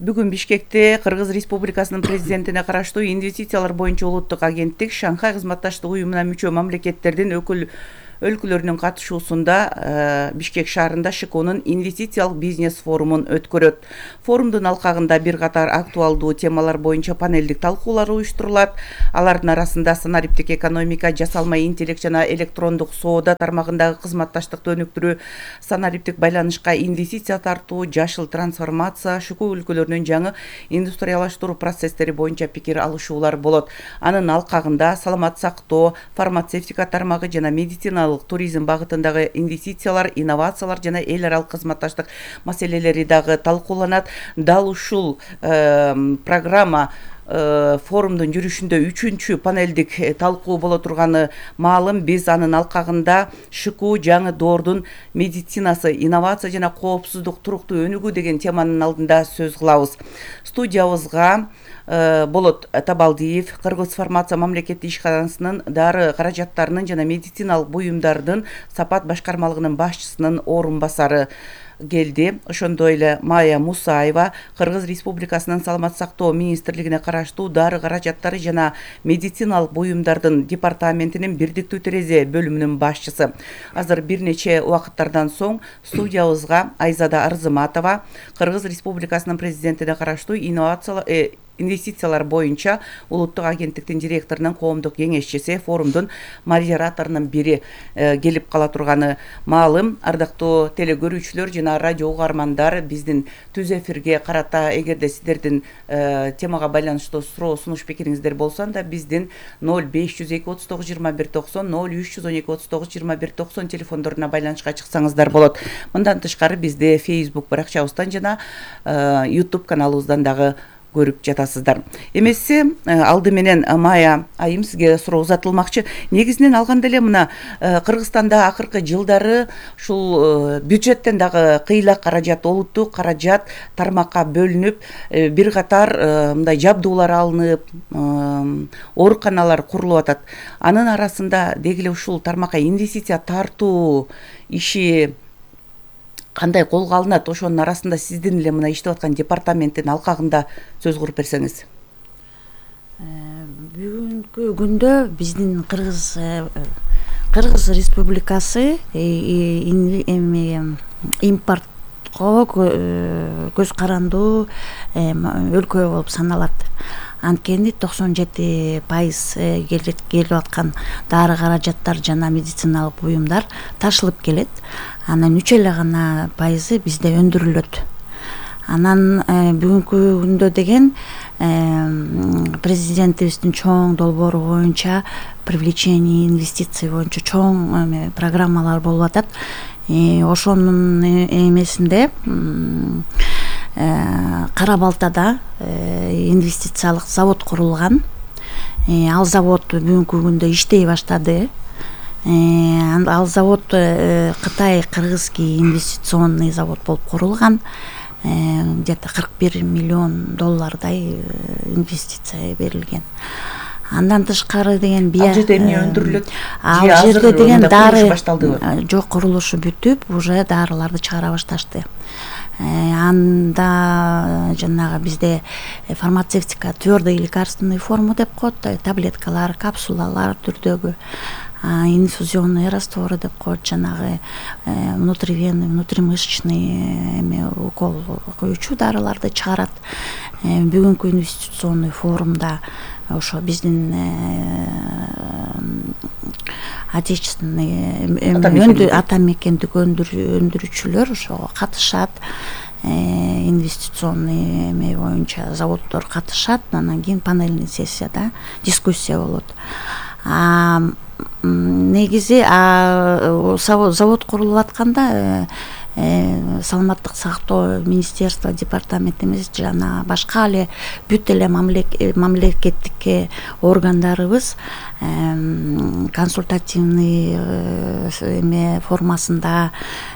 Бүгүн Бишкекте Кыргыз Республикасынын президентине караштуу инвестициялар боюнча улуттук агенттик Шанхай кызматташтык уюмуна мүчө мамлекеттердин өлкөлөрүнүн катышуусунда Бишкек шаарында ШКОнун инвестициялык бизнес форумун өткөрөт. Форумдун алкагында бир катар актуалдуу темалар боюнча панелдик талкуулар уюштурулат. Алардын арасында санариптик экономика, жасалма интеллект жана электрондук соода тармагындагы кызматташтыкты өнүктүрүү, санариптик байланышка инвестиция тартуу, жашыл трансформация, ШКО өлкөлөрүнүн жаңы индустриялаштыруу процесстери боюнча пикир алышуулар болот. Анын алкагында саламат сактоо, фармацевтика тармагы жана медициналык туризм багытындагы инвестициялар, инновациялар жана эл аралык кызматташтык маселелери дагы талкууланат. Дал ушул программа форумдун жүрүшүндө 3-чү панелдик талкуу боло турганы маалым. Биз анын алкагында ШКО жаңы доордун медицинасы, инновация жана коопсуздук туруктуу өнүгүү деген теманын алдында сөз кылабыз. Студиябызга Болот Табалдиев, Кыргыз фармация мамлекеттик ишканасынын дары каражаттарынын жана медициналык буюмдардын сапат башкармалыгынын башчысынын орун басары келди. Ошондой эле Майя Мусаева, Кыргыз Республикасынын саламат сактоо министрлигине караштуу дары каражаттары жана медициналык буюмдардын департаментинин бирдиктүү терезе бөлүмүнүн башчысы. Азыр бир нече убакыттардан соң студиябызга Айзада Арзыматова, Кыргыз Республикасынын президентине караштуу инвестициялар боюнча улуттук агенттиктин директорунун коомдук кеңешчиси, форумдун модераторунун бири келип кала турганы маалым. Ардактуу телегөрүүчүлөр жана радио угармандар, биздин түз эфирге карата эгерде сиздердин темага байланыштуу суроо сунуш пикириңиздер болсо анда биздин 0502 39 21 90 0312 39 21 90 телефондоруна байланышка чыксаңыздар болот. Мындан тышкары бизди Facebook баракчабыздан жана YouTube каналыбыздан дагы көрүп жатасыздар. Эмесе алды менен Майя айым сизге суроо узатылмакчы. Негизинен алганда эле мына Кыргызстанда акыркы жылдары ушул бюджеттен дагы кыйла каражат, улуттук каражат тармакка бөлүнүп, бир катар мындай жабдуулар алынып, ооруканалар курулуп атат. Анын арасында деги эле ушул тармакка инвестиция тартуу иши кандай колго алынат? Ошонун арасында сиздин эле мына иштеп аткан департаменттин алкагында сөз куруп берсеңиз. Бүгүнкү күндө биздин Кыргыз Республикасы импортко көз карандуу өлкө болуп саналат. Анткени 97% келип аткан дары каражаттар жана медициналык буюмдар ташылып келет. Анан 3 эле гана пайызы бизде өндүрүлөт. Анан бүгүнкү күндө деген президентибиздин чоң долбоору боюнча привлечение инвестиций боюнча чоң программалар болуп атат. Ошонун эмесинде Кара Балтада инвестициялык завод курулган. Ал завод бүгүнкү күндө иштей баштады. Ал завод Кытай кыргызский инвестиционный завод болуп курулган. Где-то $41 миллион инвестиция берилген. Андан тышкары деген ал жерде эмне өндүрүлөт? Ал жерде деген дары жок, курулушу бүтүп, уже дарыларды чыгара башташты. Анда жанагы бизде фармацевтика твердый лекарственный форма деп коет, таблеткалар, капсулалар түрдөгү, инфузионный растворы деп коет, жанагы внутривенный, внутримышечный укол коючу дарыларды чыгарат. Бүгүнкү инвестиционный форумда ошо биздин отечественный атамекендик өндүрүүчүлөр ошого катышат. Инвестиционный боюнча заводдор катышат. Анан кийин панельный сессияда дискуссия болот. Негизи завод курулуп атканда саламаттык сактоо министерство, департаментибиз жана башка эле бүт эле мамлекеттик органдарыбыз консультативный формасында,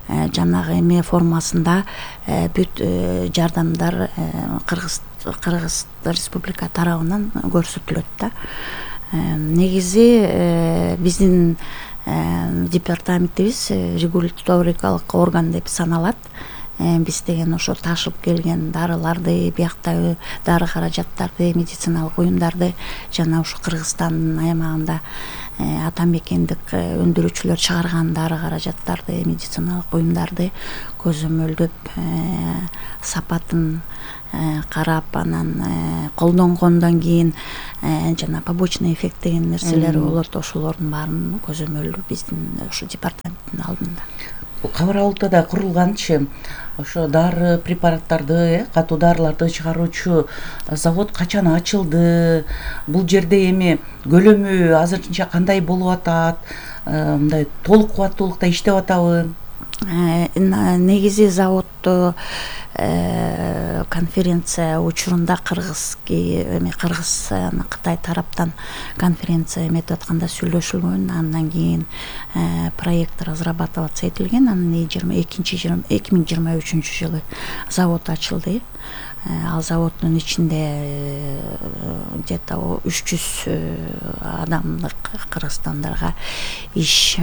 жанагы формасында бүт жардамдар Кыргыз Республика тарабынан көрсөтүлөт да. Негизи биздин департаментибиз регуляторикалык орган деп саналат. биз деген ошо ташып келген дарыларды, бияктагы дары каражаттарды, медициналык буюмдарды жана ушу Кыргызстандын аймагында атамекендик өндүрүүчүлөр чыгарган дары каражаттарды, медициналык буюмдарды көзөмөлдөп сапатын карап, анан колдонгондон кийин жана побочный эффект деген нерселер болот, ошолордун баарын көзөмөлдөө биздин ушу департаменттин алдында. Кабар Алатыда курулганчы ошо дары препараттарды, катуу дарыларды чыгаруучу завод качан ачылды? Бул жерде эми көлөмү азырынча кандай болуп атат? Мындай толук кубаттуулукта иштеп атабы? Негизи заводду конференция учурунда Кыргыз Кытай тараптан конференция эметип атканда сүйлөшүлгөн, андан кийин проект разрабатываться этилген. Анан 2023 жылы завод ачылды. Ал заводдун ичинде где-то 300 адамдык кыргызстандарга иш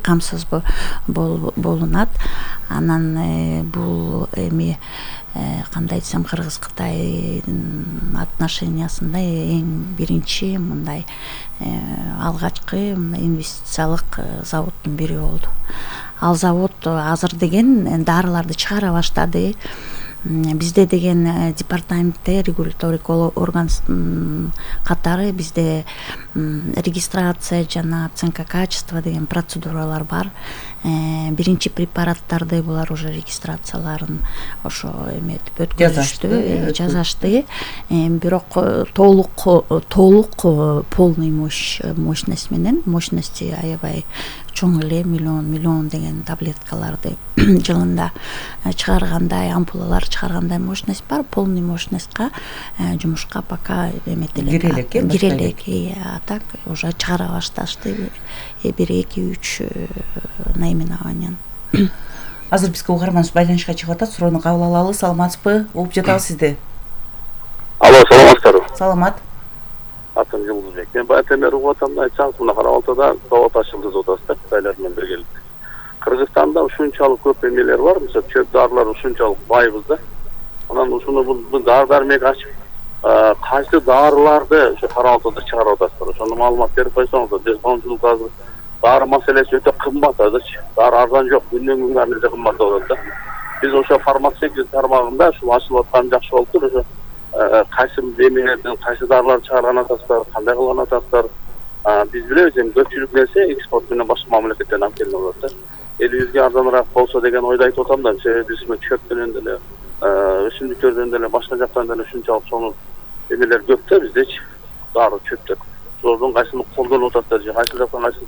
камсыз болунат. Анан бул эми кандай десем, Кыргыз-Кытайдын отношениясында эң биринчи мындай алгачкы инвестициялык заводдун бири болду. Ал завод азыр деген дарыларды чыгара баштады. Бизде деген департаментте регуляторный орган катары бизде регистрация жана оценка качества деген процедуралар бар. Биринчи препараттарды булар уже регистрацияларын ошо эметип өткөзүштү, жазашты. Бирок толук полный мощность менен, мощности аябай чоң эле, миллион деген таблеткаларды жылында чыгаргандай, ампулалар чыгаргандай мощность бар. Полный мощностька жумушка пока эметелек, кирелек. А так уже чыгара башташты 1-2-3 наименованиян. Азыр бизге угарманыбыз байланышка чыгып атат, суроону кабыл алалы. Саламатсызбы? Угуп жатабыз сизди. Алло, саламатсыздарбы? Саламат. Атым Жылдызбек. Мен байтермер угуп атам, айтсаңыз, мына Кара Алтыда завод ачылды деп атасыздар, Кытайлар менен биргеликте. Кыргызстанда ушунчалык көп эмелер бар, мисалы чөп дарылар ушунчалык байбыз да. Анан ушуну бул дары-дармек ачып, кайсы дарыларды ошо Кара Алтыда чыгарып атасыздар? Ошону маалымат берип койсоңуздар. Коомчулук азыр дары маселеси өтө кымбат азырчы. Дары арзан жок, күндөн-күнгө ар кымбат болуп атат. Биз ошо фармацевтика тармагында ушул ачылып аткан жакшы болуптур. Ошо кайсы эмелерден кайсы дарылар чыгарган атасыздар, кандай кылган атасыздар? Биз билебиз, эми көпчүлүк нерсе экспорт менен башка мамлекеттерден алып келип атат да. Элибизге арзаныраак болсо деген ойду айтып атам да. Себеби биз чөптөн деле, өсүмдүктөрдөн деле, башка жактан деле ушунчалык сонун эмелер көп да биздечи. Дары чөптөр. Ошолордун кайсысын колдонуп атасыздар же кайсы жактан кайсы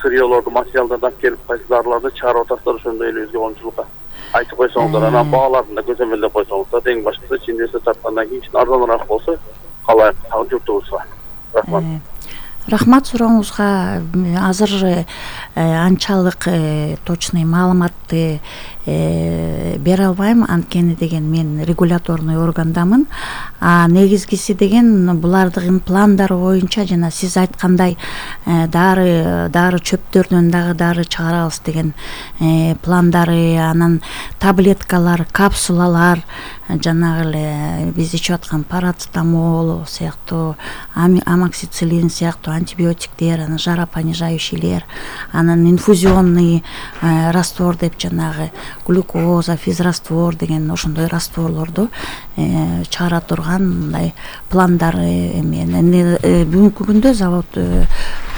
сырьёлорду, материалдарды алып келип кайсы дарыларды чыгарып атасыздар, ошондой элибизге коомчулукка айтып койсоңуздар, анан бааларын да көзөмөлдөп койсоңуздар, эң башкысы инвестор тарткандан кийин арзаныраак болсо калайык журтубузга. Рахмат. Рахмат сурооңузга. Азыр анчалык точный маалыматты бере албайм, анткени деген мен регуляторный органдамын. Негизгиси деген булардын пландары боюнча жана сиз айткандай дары чөптөрдөн дагы дары чыгарабыз деген пландары, анан таблеткалар, капсулалар, жанагы эле биз ичип аткан парацетамол сыяктуу, амоксициллин сыяктуу антибиотиктер, анан жаропонижающийлер, анан инфузионный раствор деп жанагы глюкоза, физраствор деген ошондой растворлорду чыгара турган мындай пландары эме. Бүгүнкү күндө завод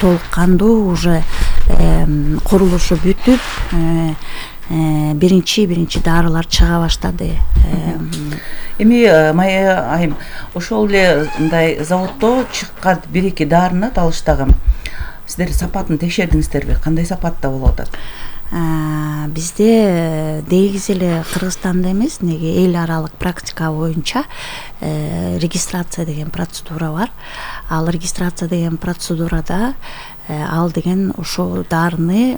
толук кандуу уже курулушу бүтүп, биринчи дарылар чыга баштады. Эми Майя айым, ошол эле мындай заводдо чыккан 1-2 дарыны алыштагы сиздер сапатын текшердиңиздерби? Кандай сапатта болуп атат? Бизде негизи эле Кыргызстанда эмес, неге эл аралык практика боюнча регистрация деген процедура бар. Ал регистрация деген процедурада ал деген ошол дарыны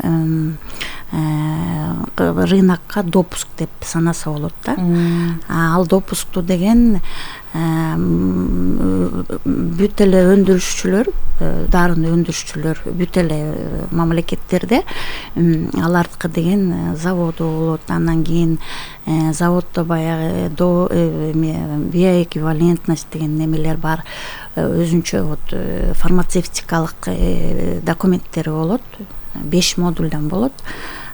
рынокко допуск деп санаса болот да. Ал допускту деген бүт эле өндүрүшчүлөр, дарыны өндүрүшчүлөр бүт эле мамлекеттерде алардыкы деген заводу болот. Андан кийин заводдо баягы биоэквивалентность деген немелер бар. Өзүнчө вот фармацевтикалык документтери болот. 5 модулдан болот.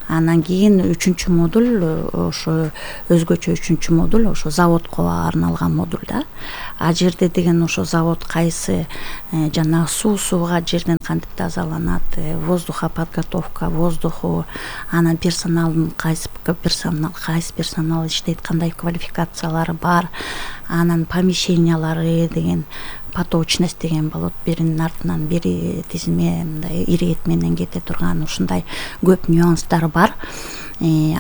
Андан кийин 3-чү модуль ошо өзгөчө 3-чү модуль ошо заводко арналган модуль да. А жерде деген ошо завод кайсы жана сууга жерден кантип тазаланат, воздухоподготовка, воздуху, анан персоналдын кайсы персонал иштейт, кандай квалификациялары бар, анан помещениялары деген поточность деген болот. Биринин артынан бири тизме мындай ирет менен кете турган ушундай көп нюанстары бар.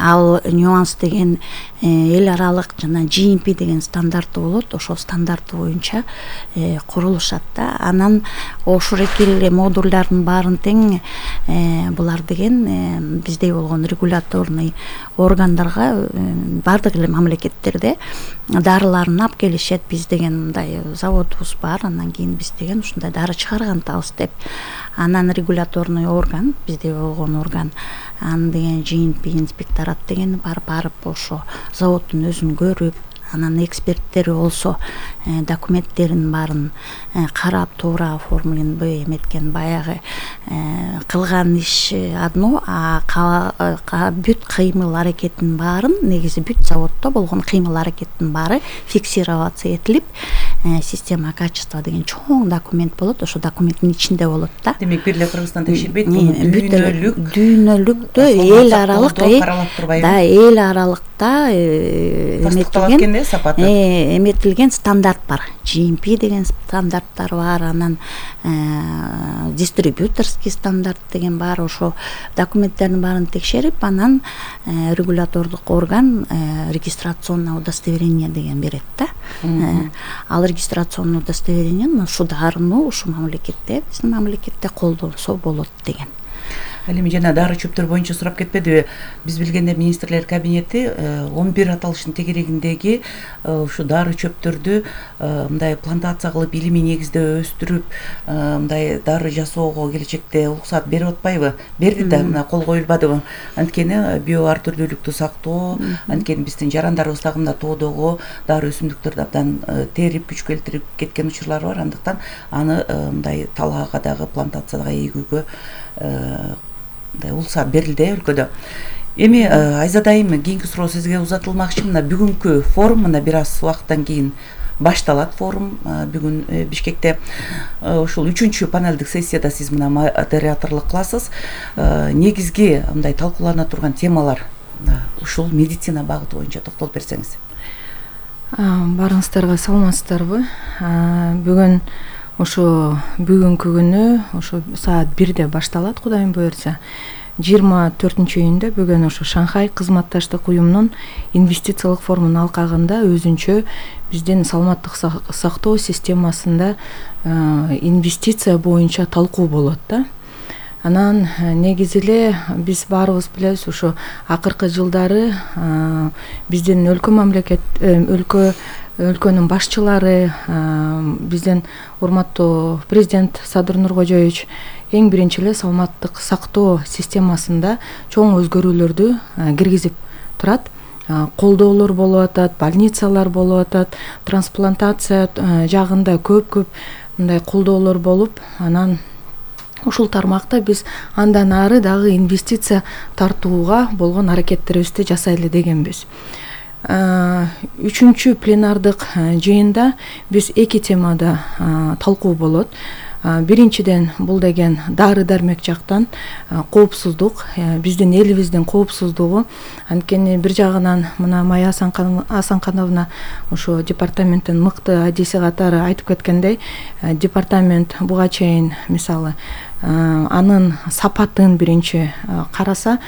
Ал нюанс деген эл аралык жана GMP деген стандарты болот. Ошол стандарты боюнча курулушат да. Анан ошол эле модулдардын баарын тең булар деген биздей болгон регуляторный органдарга бардык эле мамлекеттерде дарыларын алып келишет. Биз деген мындай заводубуз бар, андан кийин биз деген ушундай дары чыгарган атабыз деп. Анан регуляторный орган, биздей болгон орган, анан деген GMP инспекторат деген барып ошо заводдун өзүн көрүп, анан эксперттери болсо документтерин баарын карап, туура оформленби эметкен, баягы кылган иш одно, а бүт кыймыл аракеттин баарын, негизи бүт заводдо болгон кыймыл аракеттин баары фиксироваться этилип, система качества деген чоң документ болот. Ошо документтин ичинде болот да. Демек бир эле Кыргызстан текшербейт, дүйнөлүктө эл аралык да, эл аралыкта эметилген стандарт бар. GMP деген стандарттар бар, анан дистрибьюторский стандарт деген бар. Ошо документтердин баарын текшерип, анан регулятордук орган регистрационное удостоверение деген берет да. Ал регистрационный удостоверение ушу дарыны ушу мамлекетте, биздин мамлекетте колдонсо болот деген. Ал эми жана дары чөптөр боюнча сурап кетпедиби? Биз билгенде министрлер кабинети 11 аталыштын тегерегиндеги ушу дары чөптөрдү мындай плантация кылып илимий негизде өстүрүп, мындай дары жасоого келечекте уруксат берип атпайбы? Берди да, мына кол коюлбадыбы? Анткени био ар түрдүүлүктү сактоо, анткени биздин жарандарыбыз дагы мына тоодогу дары өсүмдүктөрдү абдан терип, күч келтирип кеткен учурлар бар. Андыктан аны мындай талаага дагы плантацияга эгүүгө уруксат берилди өлкөдө. Эми Айзада айым, кийинки суроо сизге узатылмакчы. Мына бүгүнкү форум, мына бир аз убакыттан кийин башталат форум. Бүгүн Бишкекте ушул 3-чү панелдик сессияда сиз мына модераторлук кыласыз. Негизги мындай талкуулана турган темалар ушул медицина багыты боюнча токтолуп берсеңиз. Барыңыздарга саламатсыздарбы? Бүгүн ошо бүгүнкү күнү ошо саат 1-де башталат, Кудайым буйрса. 24-июнда бүгүн ошо Шанхай кызматташтык уюмунун инвестициялык форумунун алкагында өзүнчө биздин саламаттык сактоо системасында инвестиция боюнча талкуу болот да. Анан негизи эле биз баарыбыз билебиз, ошо акыркы жылдары биздин өлкөнүн башчылары, биздин урматтуу президент Садыр Нуркожоевич эң биринчи эле саламаттык сактоо системасында чоң өзгөрүүлөрдү киргизип турат. Колдоолор болуп атат, больницалар болуп атат, трансплантация жагында көп мындай колдоолор болуп, анан ушул тармакта биз андан ары дагы инвестиция тартууга болгон аракеттерибизди жасайлы дегенбиз. 3-чү пленардык жыйында биз 2 темада талкуу болот. Биринчиден бул деген дары дармек жактан коопсуздук, биздин элибиздин коопсуздугу. Анткени бир жагынан мына Майя Асанкановна ошо департаменттин мыкты адиси катары айтып кеткендей, департамент буга чейин мисалы анын сапатын биринчи караса,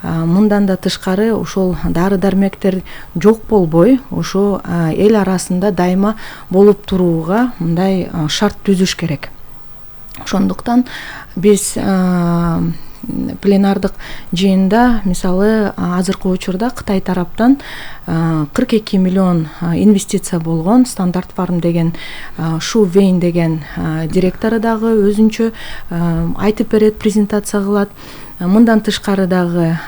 мындан да тышкары ушул дары дармектер жок болбой, ошо эл арасында дайыма болуп турууга мындай шарт түзүш керек. Ошондуктан биз пленардык жыйында мисалы азыркы учурда Кытай тараптан 42 миллион инвестиция болгон. Стандарт Фарм деген Шу Вейн деген директору дагы өзүнчө айтып берет, презентация кылат. Мындан тышкары дагы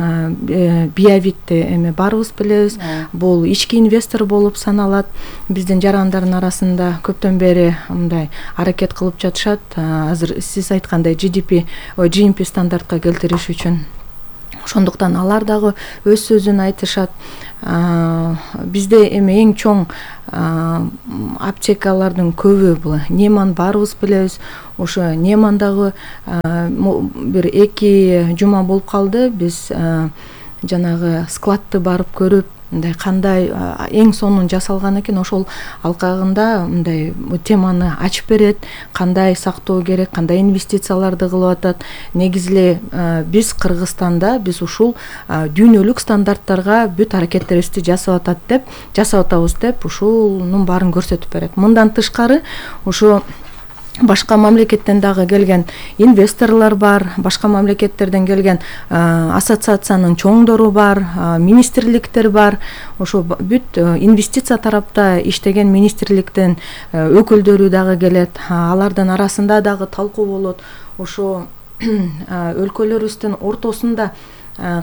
Биявитти эми баарыбыз билебиз, бул ички инвестор болуп саналат. Биздин жарандардын арасында көптөн бери мындай аракет кылып жатышат. Азыр сиз айткандай GMP стандартка келтириш үчүн. Ошондуктан алар дагы өз сөзүн айтышат. Бизде эми эң чоң аптекалардын көбү бул Неман баарыбыз билебиз. Ошо Немандагы бир 2 жума болуп калды. Биз жанагы складты барып көрүп, мындай кандай эң сонун жасалган экен, ошол алкагында мындай теманы ачып берет, кандай сактоо керек, кандай инвестицияларды кылып атат. Негизи эле биз Кыргызстанда биз ушул дүйнөлүк стандарттарга бүт аракеттерибизди жасап атабыз деп ушунун баарын көрсөтүп берет. Мындан тышкары ошо башка мамлекеттен дагы келген инвесторлор бар, башка мамлекеттерден келген ассоциациянын чоңдору бар, министрликтер бар. Ошо бүт инвестиция тарапта иштеген министрликтин өкүлдөрү дагы келет. Алардын арасында дагы талкуу болот. Ошо өлкөлөрүбүздүн ортосунда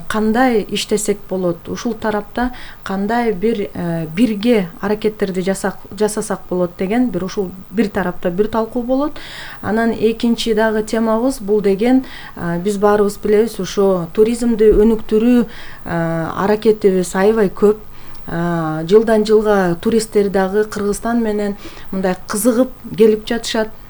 кандай иштесек болот, ушул тарапта кандай бирге аракеттерди жасасак болот деген бир ушул бир тарапта бир талкуу болот. Анан экинчи дагы темабыз бул деген биз баарыбыз билебиз, ошо туризмди өнүктүрүү аракетибиз аябай көп. Жылдан жылга туристтер дагы Кыргызстан менен мындай кызыгып келип жатышат.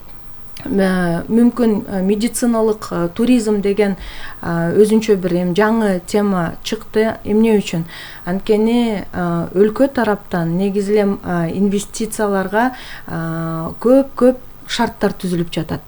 Мүмкүн медициналык туризм деген өзүнчө бир жаңы тема чыкты. Эмне үчүн? Анткени өлкө тараптан негизи эле инвестицияларга көп шарттар түзүлүп жатат.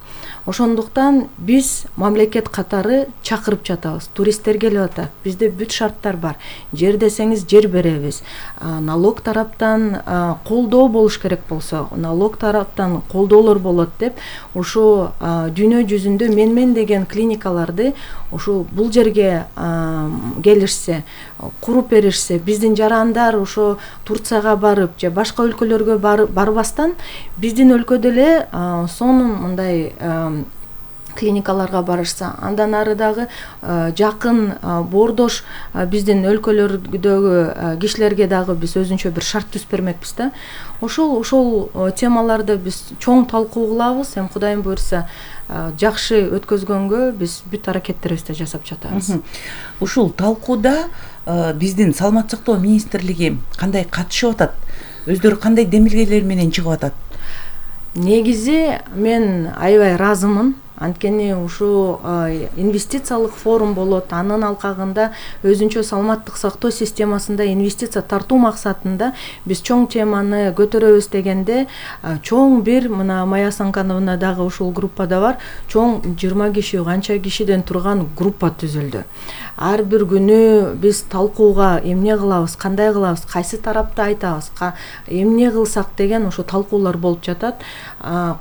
Ошондуктан биз мамлекет катары чакырып жатабыз. Туристтер келип атат. Бизде бүт шарттар бар. Жер десеңиз жер беребиз. Налог тараптан колдоо болуш керек болсо, налог тараптан колдоолор болот деп ошо дүйнө жүзүндө мен деген клиникаларды ошо бул жерге келишсе, куруп беришсе, биздин жарандар ошо Турцияга барып же башка өлкөлөргө барбастан биздин өлкөдө эле сонун мындай клиникаларга барышса, андан ары дагы жакын боордош биздин өлкөлөрдөгү кишилерге дагы биз өзүнчө бир шарт түзүп бермекпиз да. Ошол темаларды биз чоң талкуу кылабыз. Эми Кудайым буйрса жакшы өткөзгөнгө биз бүт аракеттерибизди жасап жатабыз. Ушул талкууда биздин Саламаттык сактоо министрлиги кандай катышып атат? Өздөрү кандай демилгелер менен чыгып атат? Негизи мен аябай ыраазымын. Анткени ушу инвестициялык форум болот. Анын алкагында өзүнчө саламаттык сактоо системасында инвестиция тартуу максатында биз чоң теманы көтөрөбүз дегенде чоң бир мына Майя Асанкановна дагы ушул группада бар. Чоң 20 киши, канча кишиден турган группа түзүлдү. Ар бир күнү биз талкууга эмне кылабыз, кандай кылабыз, кайсы тарапты айтабыз, эмне кылсак деген ошо талкуулар болуп жатат.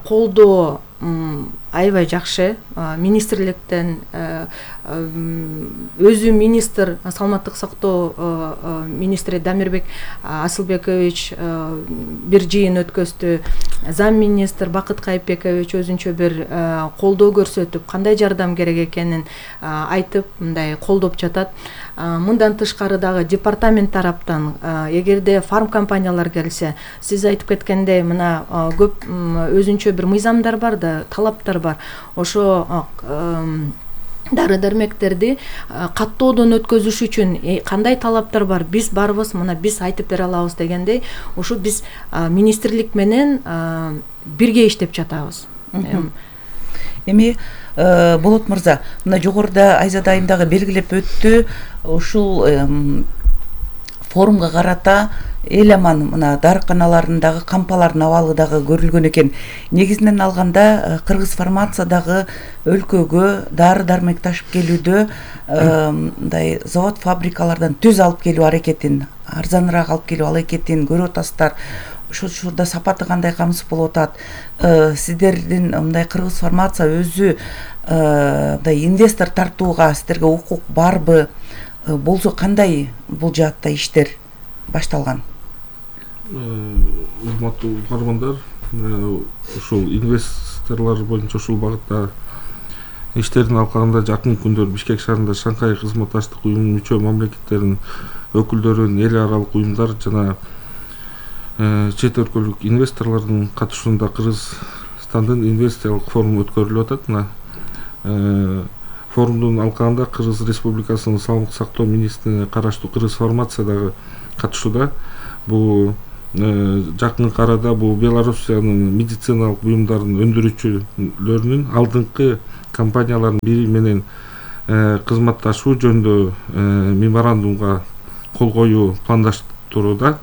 Колдоо аябай жакшы. Министрликтен өзү министр, саламаттык сактоо министри Дамирбек Асылбекович бир жыйын өткөздү. Зам министр Бакыт Кайыпбекович өзүнчө бир колдоо көрсөтүп, кандай жардам керек экенин айтып, мындай колдоп жатат. Мындан тышкары дагы департамент тараптан эгерде фарм компаниялар келсе, сиз айтып кеткендей мына көп өзүнчө бир мыйзамдар бар да, талаптар бар. Ошо дары-дармектерди каттоодон өткөзүш үчүн кандай талаптар бар, биз барбыз, мына биз айтып бере алабыз дегендей, ошо биз министрлик менен бирге иштеп жатабыз. Эми Болот мырза, мына жогоруда Айзада айым дагы белгилеп өттү, ушул форумга карата эл аман мына дарыканаларындагы кампалардын абалы дагы көрүлгөн экен. Негизинен алганда кыргыз фармация дагы өлкөгө дары-дармек ташып келүүдө мындай завод фабрикалардан түз алып келүү аракетин, арзаныраак алып келүү аракетин көрүп атасыздар. учурда сапаты кандай камсыз болуп атат? Сиздердин мындай кыргыз фармация өзү мындай инвестор тартууга сиздерге укук барбы? Болсо кандай бул жаатта иштер башталган? Урматтуу угармандар, ушул инвесторлор боюнча ушул багытта иштердин алкагында жакын күндөр Бишкек шаарында Шанхай кызматташтык уюмунун мүчө мамлекеттеринин өкүлдөрүнүн эл аралык уюмдар жана чет өлкөлүк инвесторлордун катышуусунда Кыргызстандын инвестициялык форуму өткөрүлүп атат. Мына форумдун алкагында Кыргыз Республикасынын саламаттык сактоо министрине караштуу Кыргыз фармация дагы катышууда. Бул жакынкы арада бул Белоруссиянын медициналык буюмдарын өндүрүүчүлөрүнүн алдыңкы компаниялардын бири менен кызматташуу жөнүндө меморандумга кол коюу пландаштырууда.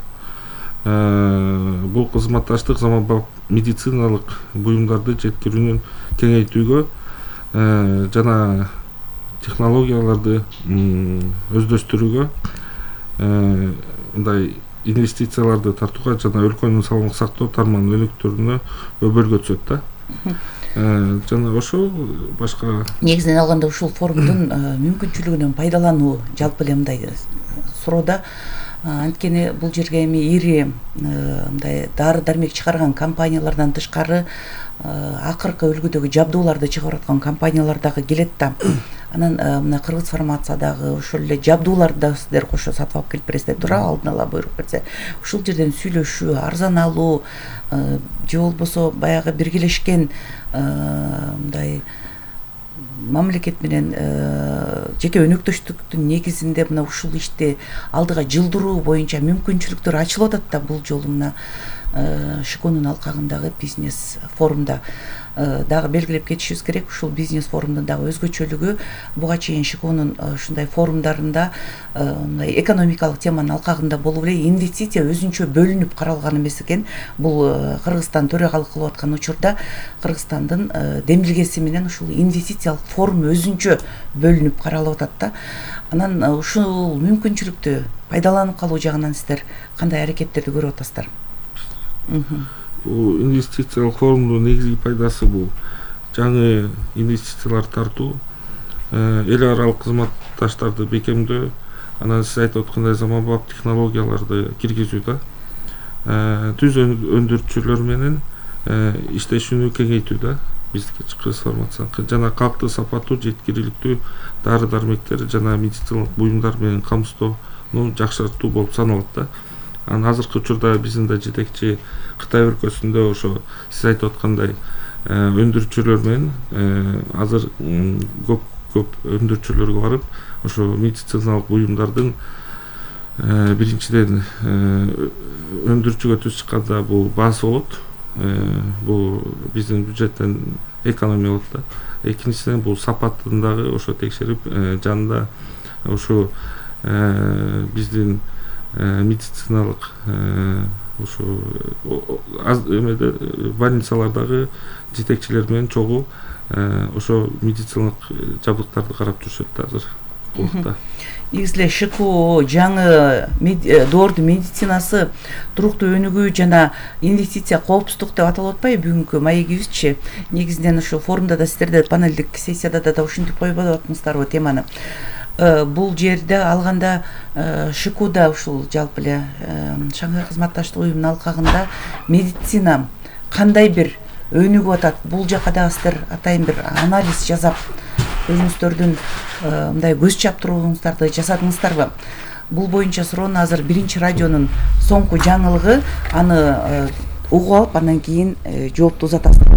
Бул кызматташтык заманбап медициналык буюмдарды жеткирүүнүн кеңейтүүгө жана технологияларды өздөштүрүүгө, мындай инвестицияларды тартууга жана өлкөнүн саламаттык сактоо тармагынын өнүктүрүүнө өбөлгө түзөт да. Жана ошол башка негизинен алганда ушул форумдун мүмкүнчүлүгүнөн пайдалануу жалпы эле мындай суроода. Анткени бул жерге эми ири мындай дары дармек чыгарган компаниялардан тышкары акыркы үлгүдөгү жабдууларды чыгарып аткан компаниялар дагы келет да. Анан мына Кыргыз фармация дагы ошол эле жабдууларды да сиздер кошо сатып алып келип бересиздер, туура, алдын ала буйрук берсе. Ушул жерден сүйлөшүү, арзан алуу же болбосо баягы биргелешкен мындай мамлекет менен жеке өнөктөштүктүн негизинде мына ушул ишти алдыга жылдыруу боюнча мүмкүнчүлүктөр ачылып атат да бул жолу мына ШКОнун алкагындагы бизнес форумда. Дагы белгилеп кетишибиз керек, ушул бизнес форумдун дагы өзгөчөлүгү буга чейин ШКОнун ушундай форумдарында мындай экономикалык теманын алкагында болуп эле инвестиция өзүнчө бөлүнүп каралган эмес экен. Бул Кыргызстан төрагалык кылып аткан учурда Кыргызстандын демилгеси менен ушул инвестициялык форум өзүнчө бөлүнүп каралып атат да. Анан ушул мүмкүнчүлүктү пайдаланып калуу жагынан сиздер кандай аракеттерди көрүп атасыздар? Бул инвестициялык форумдун негизги пайдасы бул жаңы инвестициялар тартуу, эл аралык кызматташтарды бекемдөө, анан сиз айтып аткандай заманбап технологияларды киргизүү да. Түз өндүрүүчүлөр менен иштешүүнү кеңейтүү да. Бизге Кыргыз фармация жана калкты сапаттуу, жеткиликтүү дары дармектер жана медициналык буюмдар менен камсыздоону жакшыртуу болуп саналат да. Анан азыркы учурда биздин да жетекчи Кытай өлкөсүндө ошо сиз айтып аткандай өндүрүүчүлөр менен азыр көп өндүрүүчүлөргө барып ошо медициналык буюмдардын биринчиден өндүрүүчүгө түз чыкканда бул баасы болот. Бул биздин бюджеттен экономия болот да. Экинчиден бул сапатын дагы ошо текшерип жанында ошо биздин медициналык ушу эмеде больницалардагы жетекчилер менен чогуу ошо медициналык жабдыктарды карап жүрүшөт да азыр убакта. Негизи эле ШКО жаңы доордун медицинасы туруктуу өнүгүү жана инвестиция коопсуздук деп аталып атпайбы бүгүнкү маегибизчи? Негизинен ошо форумда да сиздер панелдик сессияда да ушинтип койбоп атпаңыздарбы теманы? Бул жерде алганда ШКОда ушул жалпы эле Шанхай кызматташтык уюмунун алкагында медицина кандай бир өнүгүп атат? Бул жака дагы сиздер атайын бир анализ жасап өзүңүздөрдүн мындай көз чаптырууңуздарды жасадыңыздарбы? Бул боюнча суроону азыр биринчи радионун соңку жаңылыгы, аны угуп алып андан кийин жоопту узатасыздар.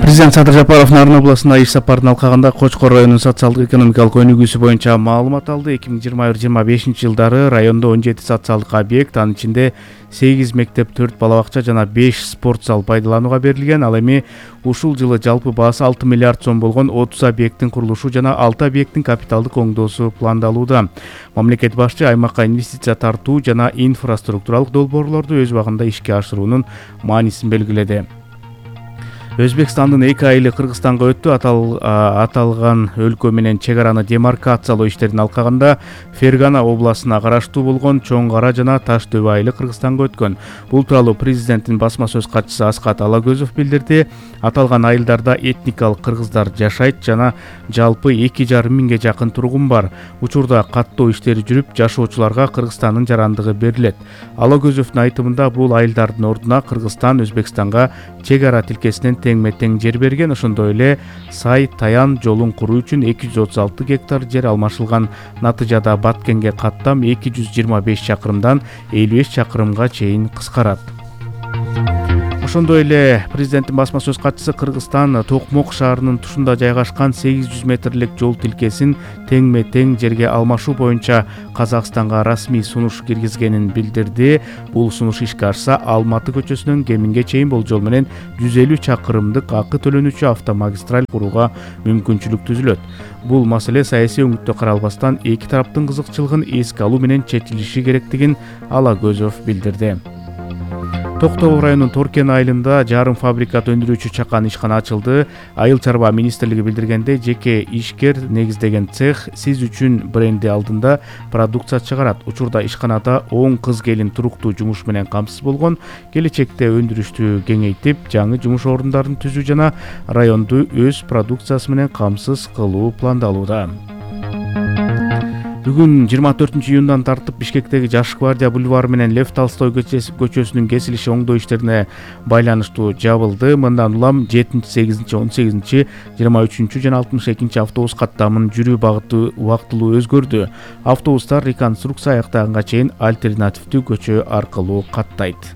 Президент Садыр Жапаров Нарын областына иш сапарынын алкагында Кочкор районунун социалдык экономикалык өнүгүүсү боюнча маалымат алды. 2021-25 жылдары райондо 17 социалдык объект, анын ичинде 8 мектеп, 4 бала бакча жана 5 спорт зал пайдаланууга берилген. Ал эми ушул жылы жалпы баасы 6 миллиард сом болгон 30 объекттин курулушу жана 6 объекттин капиталдык оңдоосу пландалууда. Мамлекет башчы аймакка инвестиция тартуу жана инфраструктуралык долбоорлорду өз убагында ишке ашыруунун маанисин белгиледи. Өзбекстандын 2 айылы Кыргызстанга өттү. Аталган өлкө менен чек араны демаркациялоо иштерин алкагында Фергана областына караштуу болгон Чоң Кара жана Таш дөбө айылы Кыргызстанга өткөн. Бул тууралуу президенттин басма сөз катчысы Аскат Алагөзов билдирди. Аталган айылдарда этникалык кыргыздар жашайт жана жалпы 2,5 миңге жакын тургун бар. Учурда каттоо иштери жүрүп, жашоочуларга Кыргызстандын жарандыгы берилет. Алагөзовдун айтымында бул айылдардын ордуна Кыргызстан Өзбекстанга чек ара тилкесинен теңме-тең жер берген. Ошондой эле Сай Таян жолун куруу үчүн 236 гектар жер алмашылган. Натыйжада Баткенге каттам 225 чакырымдан 55 чакырымга чейин кыскарат. Ошондой эле президенттин басма сөз катчысы Кыргызстан Токмок шаарынын тушунда жайгашкан 800 метрлик жол тилкесин теңме-тең жерге алмашуу боюнча Казакстанга расмий сунуш киргизгенин билдирди. Бул сунуш ишке ашса, Алматы көчөсүнөн Кеминге чейин болжол менен 150 чакырымдык акы төлөнүүчү автомагистраль курууга мүмкүнчүлүк түзүлөт. Бул маселе саясий өңүттө каралбастан эки тараптын кызыкчылыгын эске алуу менен чечилиши керектигин Алагөзов билдирди. Токтогул районунун Торкен айылында жарым фабрикат өндүрүүчү чакан ишкана ачылды. Айыл чарба министрлиги билдиргендей, жеке ишкер негиздеген цех сиз үчүн бренди алдында продукция чыгарат. Учурда ишканада 10 кыз-келин туруктуу жумуш менен камсыз болгон. Келечекте өндүрүштү кеңейтип, жаңы жумуш орундарын түзүү жана районду өз продукциясы менен камсыз кылуу пландалууда. Бүгүн 24-июндан тартып Бишкектеги Жаш гвардия бульвары менен Лев Толстой көчөсүнүн кесилиши оңдоо иштерине байланыштуу жабылды. Мындан улам 7, 8, 18, 23 жана 62 автобус каттамынын жүрүү багыты убактылуу өзгөрдү. Автобустар реконструкция аяктаганга чейин альтернативдүү көчө аркылуу каттайт.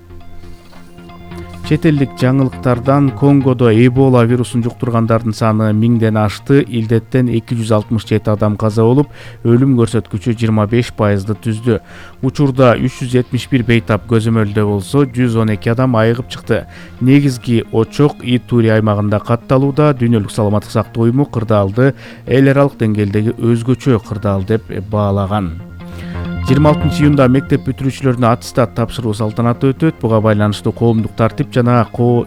Чет элдик жаңылыктардан Конгодо Эбола вирусун жуктургандардын саны 1000ден ашты. Илдеттен 267 адам каза болуп, өлүм көрсөткүчү 25%ды түздү. Учурда 371 бейтап көзөмөлдө болсо, 112 адам айыгып чыкты. Негизги очок Итури аймагында катталууда. Дүйнөлүк саламаттык сактоо уюму кырдаалды эл аралык деңгээлдеги өзгөчө кырдаал деп баалаган. 26 июнда мектеп бүтүрүүчүлөрүнө аттестат тапшыруу салтанаты өтөт. Буга байланыштуу коомдук тартип жана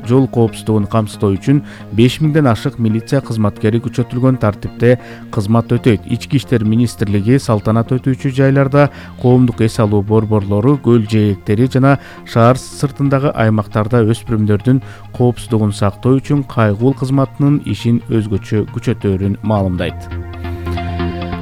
жол коопсуздугун камсыздоо үчүн 5000ден ашык милиция кызматкери күчөтүлгөн тартипте кызмат өтөйт. Ички иштер министрлиги салтанат өтүүчү жайларда коомдук эс алуу борборлору, көл жээктери жана шаар сыртындагы аймактарда өспүрүмдөрдүн коопсуздугун сактоо үчүн кайгуул кызматынын ишин өзгөчө күчөтөөрүн маалымдайт.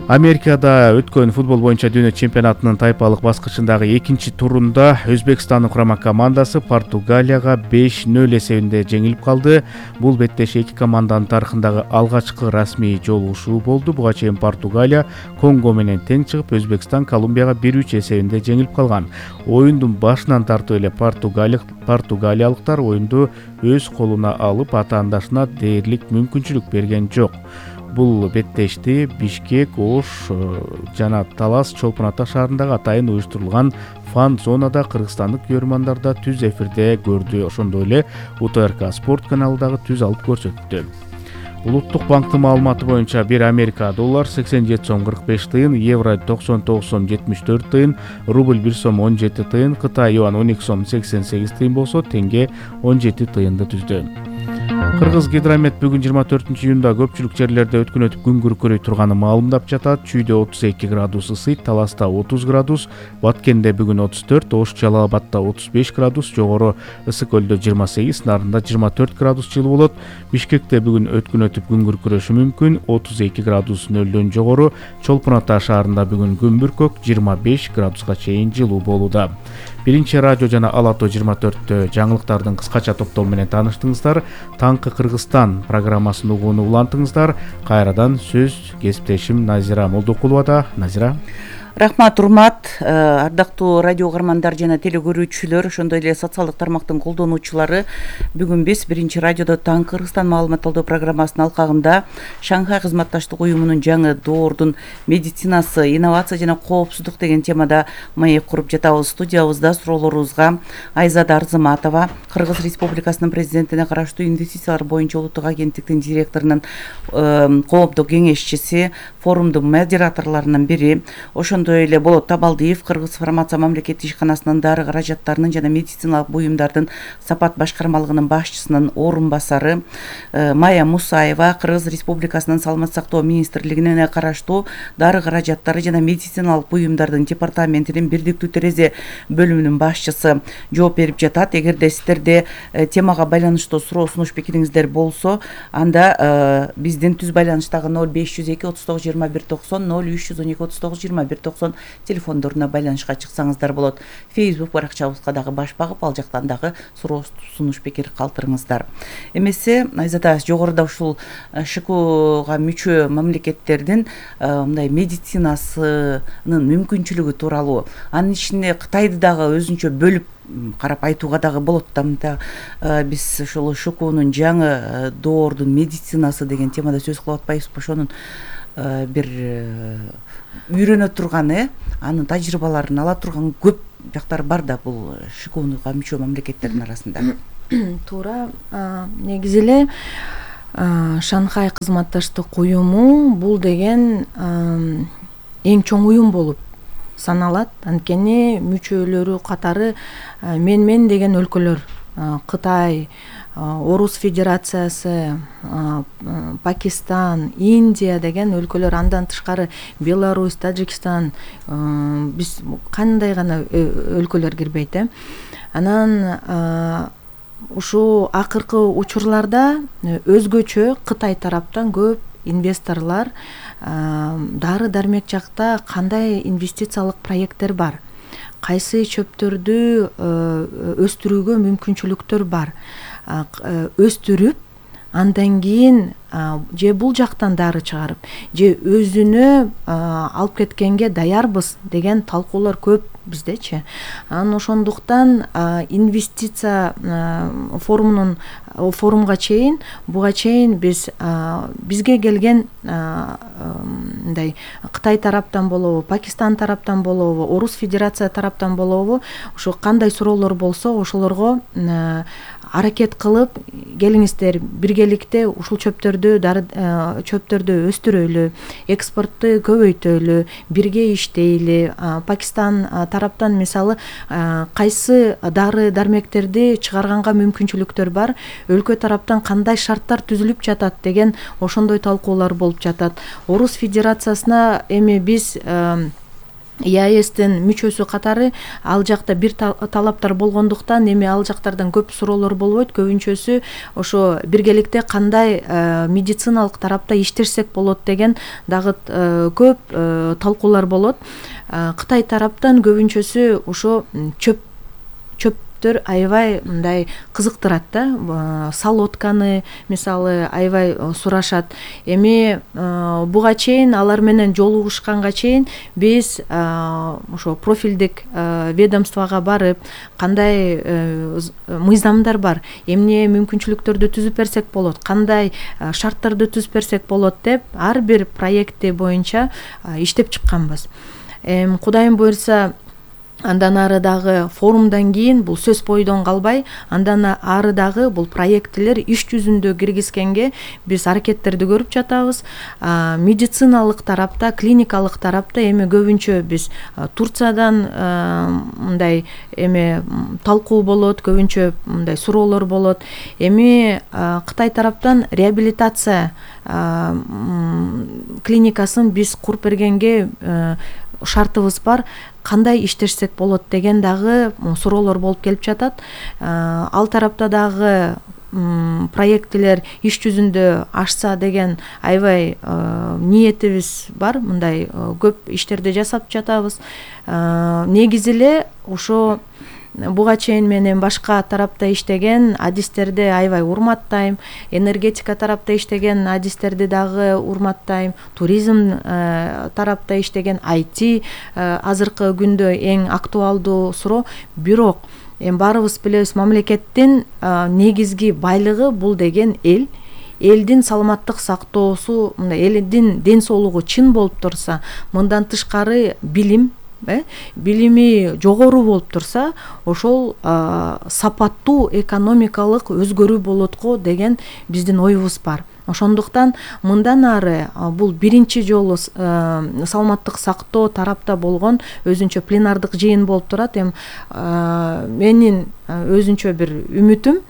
Америкада өткөн футбол боюнча дүйнө чемпионатынын тайпалык баскычындагы экинчи турунда Өзбекстандын курама командасы Португалияга 5-0 эсебинде жеңилип калды. Бул беттеш эки команданын тарыхындагы алгачкы расмий жолугушуу болду. Буга чейин Португалия Конго менен тең чыгып, Өзбекстан Колумбияга 1-3 эсебинде жеңилип калган. Оюндун башынан тартып эле португалиялыктар оюнду өз колуна алып, атаандашына дээрлик мүмкүнчүлүк берген жок. Бул беттешти Бишкек, Ош жана Талас Чолпон Ата шаарындагы атайын уюштурулган фан зонада кыргызстандык көрөрмандар да түз эфирде көрдү. Ошондой эле УТРК спорт каналы дагы түз алып көрсөттү. Улуттук банктын маалыматы боюнча 1 Америка доллар 87 сом 45 тыйын, евро 99 сом 74 тыйын, рубль 1 сом 17 тыйын, Кытай юан 12 сом 88 тыйын болсо, теңге 17 тыйынды түздү. Кыргыз Гидромет бүгүн 24 июнда көпчүлүк жерлерде өткөн өтүп күн күркүрөй турганы маалымдап жатат. Чүйдө 32 градус ысыйт, Таласта 30 градус, Баткенде бүгүн 34, Ош Жалал Абадта 35 градус, жогору Ысык көлдө 28, Нарында 24 градус жылуу болот. Бишкекте бүгүн өткөн өтүп күн күркүрөшү мүмкүн, 32 градус нөлдөн жогору. Чолпон Ата шаарында бүгүн күн бүркөк, 25 градуска чейин жылуу болууда. Биринчи радио жана Алато 24 жаңылыктардын кыскача топтому менен тааныштыңыздар. Таңкы Кыргызстан программасын угууну улантыңыздар. Кайрадан сөз кесиптешим Назира Молдокуловада. Назира. Рахмат, урмат, ардактуу радио угармандар жана телекөрүүчүлөр, ошондой эле социалдык тармактын колдонуучулары. Бүгүн биз биринчи радиодо Таңкы Кыргызстан маалымат алуу программасынын алкагында Шанхай кызматташтык уюмунун жаңы доордун медицинасы, инновация жана коопсуздук деген темада маек куруп жатабыз. Студиябызда суроолорубузга Айзада Арзыматова, Кыргыз Республикасынын президентине караштуу инвестициялар боюнча улуттук агенттиктин директорунун коомдук кеңешчиси, форумдун модераторлорунун бири, ошондой ошондой эле Болот Табалдиев Кыргыз фармация мамлекеттик ишканасынын дары каражаттарынын жана медициналык буюмдардын сапат башкармалыгынын башчысынын орун басары, Майя Мусаева Кыргыз Республикасынын Саламаттык сактоо министрлигине караштуу дары каражаттары жана медициналык буюмдардын департаментинин бирдиктүү терезе бөлүмүнүн башчысы жооп берип жатат. Эгерде сиздерде темага байланыштуу суроо сунуш пикириңиздер болсо, анда биздин түз байланыштагы 0502 39 21 90 0312 39 21 90 телефондоруна байланышка чыксаңыздар болот. Facebook баракчабызга дагы баш багып, ал жактан дагы суроо сунуш пикир калтырыңыздар. Эмесе Айзада, жогоруда ушул ШКОга мүчө мамлекеттердин мындай медицинасынын мүмкүнчүлүгү тууралуу, анын ичинде Кытайды дагы өзүнчө бөлүп карап айтууга дагы болот да. Мындай биз ошол ШКОнун жаңы доордун медицинасы деген темада сөз кылып атпайбызбы? Ошонун бир үйрөнө турган, анын тажрыйбаларын ала турган көп жактар бар да бул ШКОнуга мүчө мамлекеттердин арасында. Туура. Негизи эле Шанхай кызматташтык уюму бул деген эң чоң уюм болуп саналат. Анткени мүчөлөрү катары мен деген өлкөлөр: Кытай, Орус Федерациясы, Пакистан, Индия деген өлкөлөр, андан тышкары Беларусь, Тажикстан, биз кандай гана өлкөлөр кирбейт. Анан ушу акыркы учурларда өзгөчө Кытай тараптан көп инвесторлор дары дармек жакта кандай инвестициялык проекттер бар, кайсы чөптөрдү өстүрүүгө мүмкүнчүлүктөр бар, өстүрүп андан кийин же бул жактан дары чыгарып, же өзүнө алып кеткенге даярбыз деген талкуулар көп биздечи. Анан ошондуктан инвестиция форумга чейин, буга чейин бизге келген мындай Кытай тараптан болобу, Пакистан тараптан болобу, Орус Федерация тараптан болобу, ошо кандай суроолор болсо ошолорго аракет кылып, келиңиздер биргеликте ушул чөптөрдү өстүрөлү, экспортту көбөйтөлү, бирге иштейли. Пакистан тараптан мисалы кайсы дары дармектерди чыгарганга мүмкүнчүлүктөр бар, өлкө тараптан кандай шарттар түзүлүп жатат деген ошондой талкуулар болуп жатат. Орус Федерациясына эми биз ЕАЭСтин мүчөсү катары ал жакта бир талаптар болгондуктан эми ал жактардан көп суроолор болбойт. Көбүнчөсү ошо биргеликте кандай медициналык тарапта иштешсек болот деген дагы көп талкуулар болот. Кытай тараптан көбүнчөсү ошо чөптөр аябай мындай кызыктырат да. Солодканы мисалы аябай сурашат. Эми буга чейин алар менен жолугушканга чейин биз ошо профилдик ведомствого барып, кандай мыйзамдар бар, эмне мүмкүнчүлүктөрдү түзүп берсек болот, кандай шарттарды түзүп берсек болот деп ар бир проекти боюнча иштеп чыкканбыз. Кудайым буйрса, андан ары дагы форумдан кийин бул сөз бойдон калбай, андан ары дагы бул проекттер иш жүзүндө киргизгенге биз аракеттерди көрүп жатабыз. Медициналык тарапта, клиникалык тарапта эми көбүнчө биз Турциядан мындай эми талкуу болот, көбүнчө мындай суроолор болот. Эми Кытай тараптан реабилитация клиникасын биз куруп бергенге шартыбыз бар, кандай иштешсек болот деген дагы суроолор болуп келип жатат. Ал тарапта дагы проекттер иш жүзүндө ашса деген аябай ниетибиз бар. Мындай көп иштерди жасап жатабыз. Негизи эле ошо буга чейин менен башка тарапта иштеген адистерди аябай урматтайм. Энергетика тарапта иштеген адистерди дагы урматтайм. Туризм тарапта иштеген IT азыркы күндө эң актуалдуу суроо. Бирок баарыбыз билебиз, мамлекеттин негизги байлыгы бул деген элдин саламаттык сактоосу, элдин ден соолугу чын болуп турса, мындан тышкары билими жогору болуп турса, ошол сапаттуу экономикалык өзгөрүү болот го деген биздин оюбуз бар. Ошондуктан мындан ары бул биринчи жолу саламаттык сактоо тарапта болгон өзүнчө пленардык жыйын болуп турат. Эми менин өзүнчө бир үмүтүм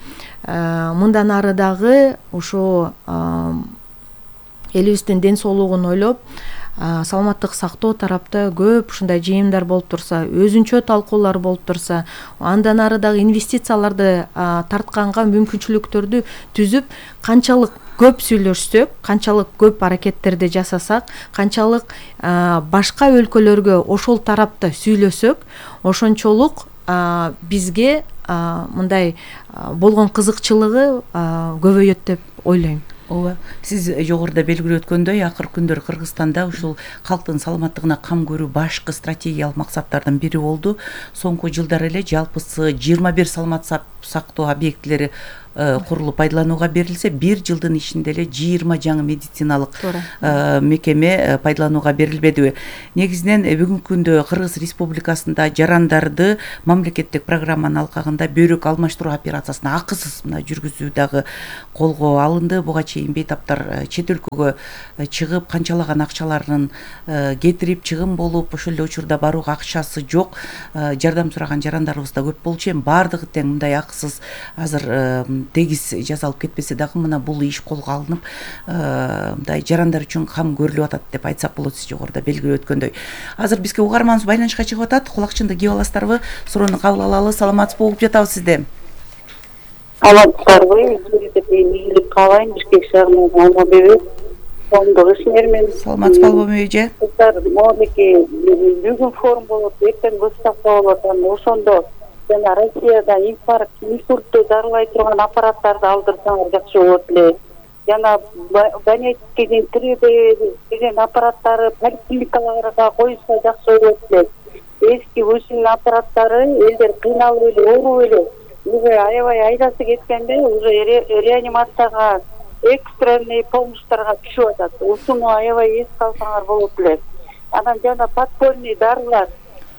мындан ары дагы ошо элибиздин ден соолугун ойлоп саламаттык сактоо тарапта көп ушундай жыйындар болуп турса, өзүнчө талкуулар болуп турса, андан ары дагы инвестицияларды тартканга мүмкүнчүлүктөрдү түзүп, канчалык көп сүйлөшсөк, канчалык көп аракеттерди жасасак, канчалык башка өлкөлөргө ошол тарапта сүйлөсөк, ошончолук бизге мындай болгон кызыкчылыгы көбөйөт деп ойлойм. Ооба, сиз жогоруда белгилеп өткөндөй, акыркы күндөр Кыргызстанда ушул калктын саламаттыгына кам көрүү башкы стратегиялык максаттардын бири болду. Соңку жылдары эле жалпысы 21 саламат сактоо объектилери курулуп пайдаланууга берилсе, 1 жылдын ичинде эле 20 жаңы медициналык мекеме пайдаланууга берилбедиби? Негизинен бүгүнкү күндө Кыргыз Республикасында жарандарды мамлекеттик программанын алкагында бөйрөк алмаштыруу операциясын акысыз жүргүзүү дагы колго алынды. Буга чейин бейтаптар чет өлкөгө чыгып, канчалаган акчаларын кетирип, чыгым болуп, ошол эле учурда барууга акчасы жок жардам сураган жарандарыбыз да көп болчу. Эми баардыгы тең мындай акысыз азыр тегиз жазалып кетпесе дагы мына бул иш колго алынып, мындай жарандар үчүн кам көрүлүп атат деп айтсак болот. Сиз жогоруда белгилеп өткөндөй. Азыр бизге угарманыбыз байланышка чыгып атат. Кулакчынды кийип аласыздарбы? Суроону кабыл алалы. Саламатсызбы? Угуп жатабыз сизди. Саламатсыздарбы? Ийгилик каалайм. Бишкек шаарынын Алмабеби. Коомдук ишмермин. Саламатсызбы Алмабеби эже? Могулеки бүгүн форум болот, эртең выставка болот. Ошондо жана Россияда инфарктты дарылай турган аппараттарды алдырсаңар жакшы болот эле. Жана Донецкийдин 3D деген аппараттары поликлиникаларга коюлса жакшы болот эле. Эски ушул аппараттары элдер кыйналып эле, ооруп эле, уже аябай айдасы кеткенде уже реанимацияга, экстренный помощьтарга түшүп атат. Ушуну аябай эске алсаңар болот эле. Анан жана подпольный дарылар,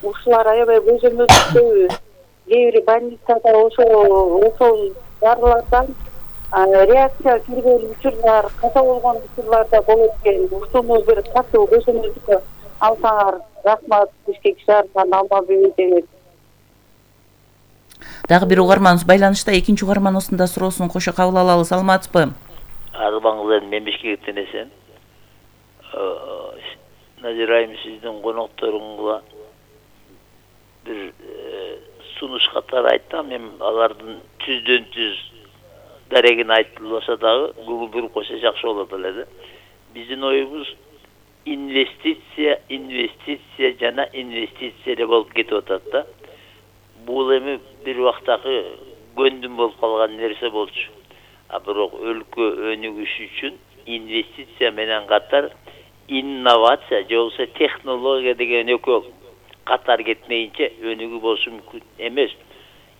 ушулар аябай көзөмөлдүктүү. Кээ бир больницада ошол дарылардан реакция кирген учурлар, каза болгон учурларда болот экен. Ушуну бир катуу көзөмөлдүккө алсаңар рахмат. Бишкек шаарынан Алмабеби деген. Дагы бир угарманыбыз байланышта, экинчи угарман осунда суроосун кошо кабыл алалы. Саламатсызбы? Арбаңыздан мен Бишкектен эсен. Назира айым, сиздин конокторуңга бир сунуш катары айттым. Мен алардын түздөн түз дарегин айтылса дагы Google койсо жакшы болот эле. Биздин оюбуз инвестиция жана инвестиция болуп кетип атат да. Бул эми бир убактагы көндүм болуп калган нерсе болчу. Бирок өлкө өнүгүш үчүн инвестиция менен катар инновация же болбосо технология деген экөө катар кетмейинче өнүгүү болушу мүмкүн эмес.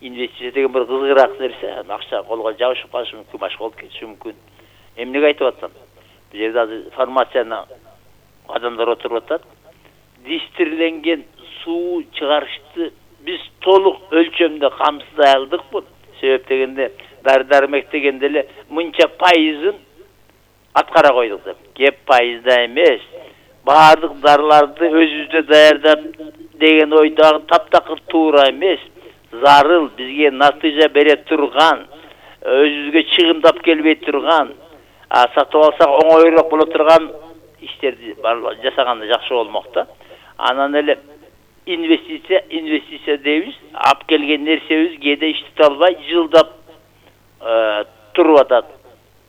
Инвестиция деген бир кызыгыраак нерсе, акча колго жабышып калышы мүмкүн, башка болуп кетиши мүмкүн. Эмнеге айтып атам? Бул жерде азыр фармацияны адамдар отуруп атат. Дистирленген суу чыгарышты биз толук өлчөмдө камсыздай алдыкпы? Себеп дегенде дары-дармек дегенде эле мынча пайызын аткара койдук деп. Кеп пайызда эмес, баардык дарыларды өзүбүздө даярдап деген ой дагы таптакыр туура эмес. Зарыл бизге натыйжа бере турган, өзүбүзгө чыгымдап келбей турган, сатып алсак оңоюраак боло турган иштерди жасаганда жакшы болмок да. Анан эле инвестиция дейбиз, алып келген нерсебиз кээде иштете албай жылдап туруп атат.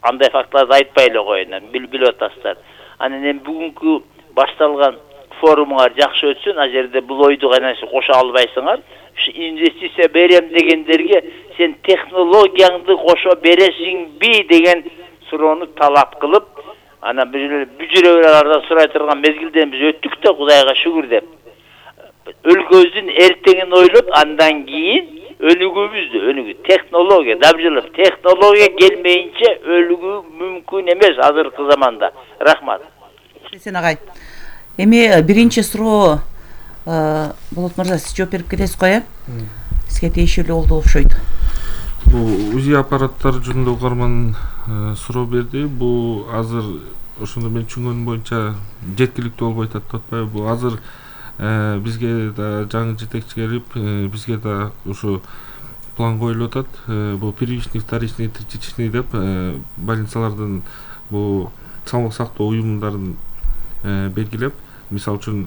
Андай фактларды айтпай эле коеюн, билип атасыздар. Анан эми бүгүнкү башталган форумуңар жакшы өтсүн, ал жерде бул ойду кайнашып кошо албайсыңар. Инвестиция берем дегендерге сен технологияңды кошо бересиңби деген суроону талап кылып, анан бүжүрөлөрдөн сурай турган мезгилден биз өттүк да, Кудайга шүгүр деп. Өлкөбүздүн эртеңин ойлоп, андан кийин өнүгүү технология дабжылып, технология келмейинче өнүгүү мүмкүн эмес азыркы заманда. Рахмат. Сен агай. Эми биринчи суроо Болот мырза, сиз жооп берип кетесиз го, э? Сизге тиешелүү болду окшойт. Бул УЗИ аппараттары жөнүндө угарман суроо берди. Бул азыр ошондо мен түшүнгөнүм боюнча жеткиликтүү болбой атат деп атпайбы. Бул азыр бизге да жаңы жетекчи келип, бизге да ушу план коюлуп атат. Бул первичный, вторичный, третичный деп больницалардын бул салмак сактоо уюмдарын белгилеп, мисалы үчүн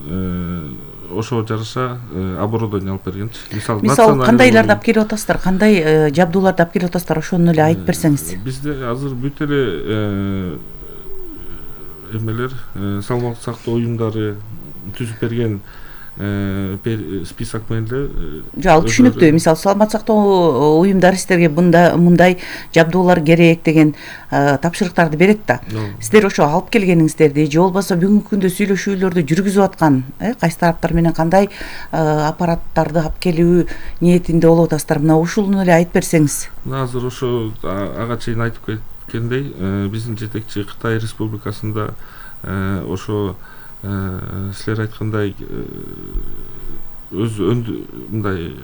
ошого жараша оборудование алып бергенчи. Мисалы кандайларды алып келип атасыздар, кандай жабдууларды алып келип атасыздар, ошону эле айтып берсеңиз. Бизде азыр бүт эле эмелер, салмак сактоо уюмдары түзүп берген список менен эле. Жок, түшүнүктүү. Мисалы саламат сактоо уюмдары сиздерге мындай жабдуулар керек деген тапшырыктарды берет да. Сиздер ошо алып келгениңиздерди же болбосо бүгүнкү күндө сүйлөшүүлөрдү жүргүзүп аткан кайсы тараптар менен кандай аппараттарды алып келүү ниетинде болуп атасыздар, мына ушуну эле айтып берсеңиз. Азыр ошо ага чейин айтып кеткендей, биздин жетекчи Кытай Республикасында ошо силер айткандай өз мындай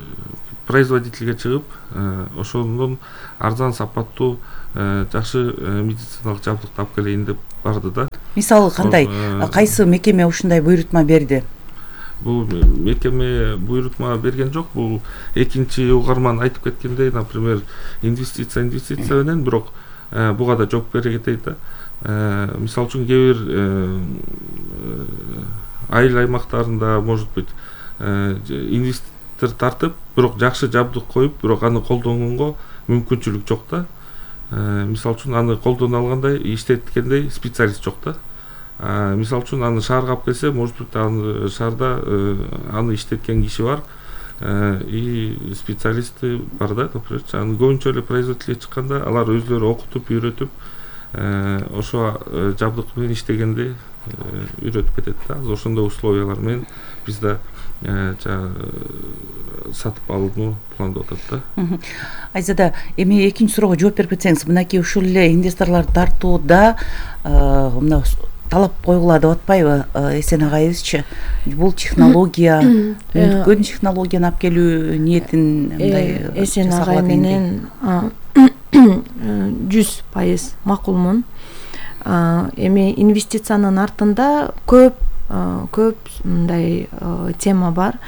производительге чыгып, ошондон арзан, сапаттуу, жакшы медициналык жабдык алып келейин деп барды да. Мисалы кандай, кайсы мекеме ушундай буйрутма берди? Бул мекеме буйрутма берген жок. Бул экинчи угарман айтып кеткендей, например, инвестиция менен, бирок буга да жооп бере кетейин да. Мисалы үчүн кээ бир айыл аймактарында, может быть, инвестор тартып, бирок жакшы жабдык коюп, бирок аны колдонгонго мүмкүнчүлүк жок да. Мисалы үчүн аны колдоно алгандай, иштеткендей специалист жок да. Мисалы үчүн аны шаарга алып келсе, может быть, аны шаарда аны иштеткен киши бар, и специалисты бар да, например. Аны көбүнчө эле производительге чыкканда алар өзлөрү окутуп, үйрөтүп, ошо жабдык менен иштегенди үйрөтүп кетет да. Ошондой условиялар менен биз да сатып алууну пландап атат да. Айзада, эми экинчи суроого жооп берип кетсеңиз, мынакей ушул эле инвесторлорду тартууда мына талап койгула деп атпайбы Эсен агайыбызчы? Бул технология, өткөн технологияны алып келүү ниетин мындай Эсен агай менен 100% макулмун. Эми инвестициянын артында көп мындай тема бар.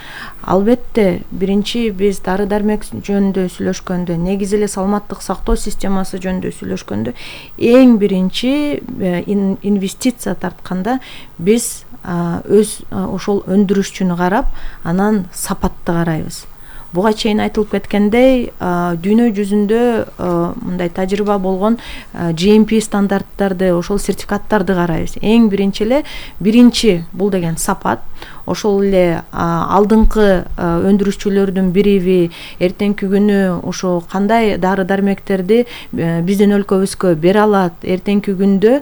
Албетте, биринчи биз дары дармек жөнүндө сүйлөшкөндө, негизи эле саламаттык сактоо системасы жөнүндө сүйлөшкөндө, эң биринчи инвестиция тартканда биз өз ошол өндүрүшчүнү карап, анан сапатты карайбыз. Буга чейин айтылып кеткендей, дүйнө жүзүндө мындай тажрыйба болгон GMP стандарттарды, ошол сертификаттарды карайбыз. Эң биринчи бул деген сапат. Ошол эле алдыңкы өндүрүшчүлөрдүн бириби эртеңки күнү ошо кандай дары дармектерди биздин өлкөбүзгө бере алат, эртеңки күндө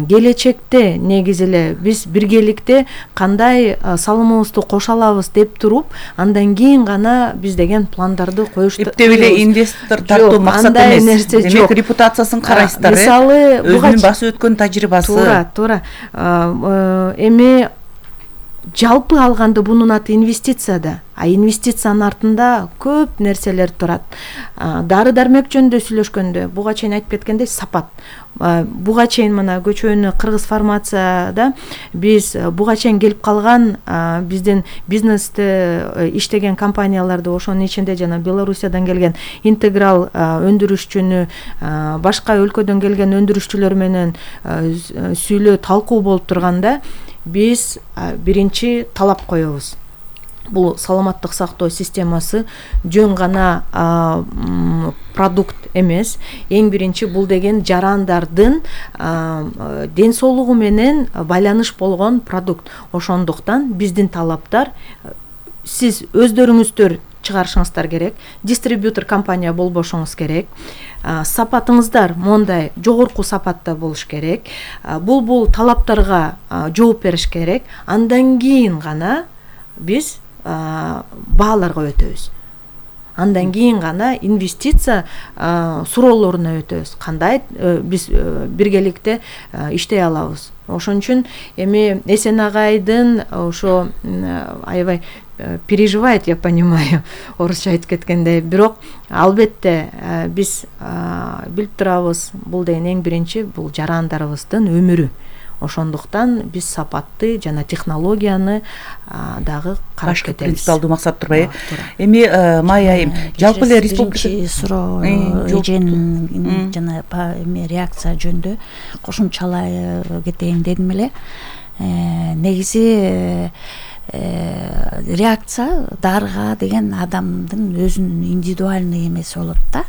келечекте негизи эле биз биргеликте кандай салымыбызды кошо алабыз деп туруп, андан кийин гана биз деген пландарды коюшту. Эптеп эле инвестор тартуу максат эмес. Демек репутациясын карайсыздар, мисалы өзүнүн басып өткөн тажрыйбасы. Туура. Эми жалпы алганда бунун аты инвестиция да, инвестициянын артында көп нерселер турат. Дары дармек жөнүндө сүйлөшкөндө буга чейин айтып кеткендей сапат. Буга чейин мына көчөнү Кыргыз фармацияда биз буга чейин келип калган биздин бизнесте иштеген компанияларды, ошонун ичинде жана Белоруссиядан келген интеграл өндүрүшчүнү, башка өлкөдөн келген өндүрүшчүлөр менен сүйлөө талкуу болуп турганда, биз биринчи талап коебуз. Бул саламаттык сактоо системасы жөн гана продукт эмес, эң биринчи бул деген жарандардын ден соолугу менен байланыш болгон продукт. Ошондуктан биздин талаптар, сиз өздөрүңүздөр чыгарышыңыздар керек, дистрибьютор компания болбошуңуз керек, сапатыңыздар мондай жогорку сапатта болуш керек, бул талаптарга жооп бериш керек. Андан кийин гана биз бааларга өтөбүз. Андан кийин гана инвестиция суроолоруна өтөбүз. Кандай биз биргеликте иштей алабыз. Ошон үчүн эми Эсен агайдын ошо аябай переживает, я понимаю, орусча айтып кеткендей. Бирок албетте биз билип турабыз, бул деген эң биринчи бул жарандарыбыздын өмүрү. Ошондуктан биз сапатты жана технологияны дагы карап кетебиз. Принципиалдуу максат турбайбы? Эми Майя айым, жалпы эле республика суроо эженин жана эми реакция жөнүндө кошумчалай кетейин дедим эле. Негизи реакция дарыга деген адамдын өзүнүн индивидуальный эмеси болот да.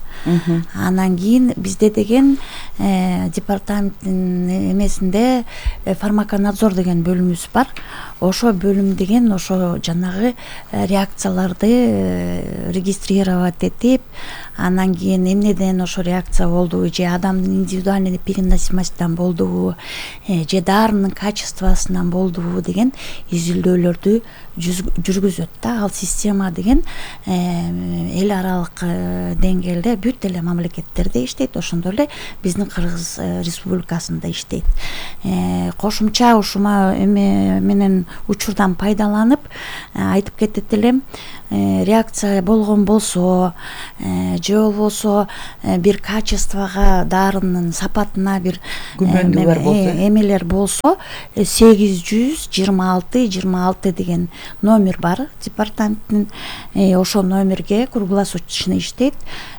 Анан кийин бизде деген департаменттин эмесинде фармаконадзор деген бөлүмүбүз бар. Ошо бөлүм деген ошо жанагы реакцияларды регистрировать этип, анан кийин эмнеден ошо реакция болдубу, же адамдын индивидуальный переносимостьтан болдубу, же дарынын качествосунан болдубу деген изилдөөлөрдү жүргүзөт да. Ал система деген эл аралык деңгээлде бүт эле мамлекеттерде иштейт, ошондой эле биздин Кыргыз Республикасында иштейт. Кошумча ушума эме менен учурдан пайдаланып айтып кетет элем, реакция болгон болсо же болбосо бир качествого, дарынын сапатына бир эмелер болсо 826 деген номер бар департаменттин. Ошо номерге круглосуточный иштейт,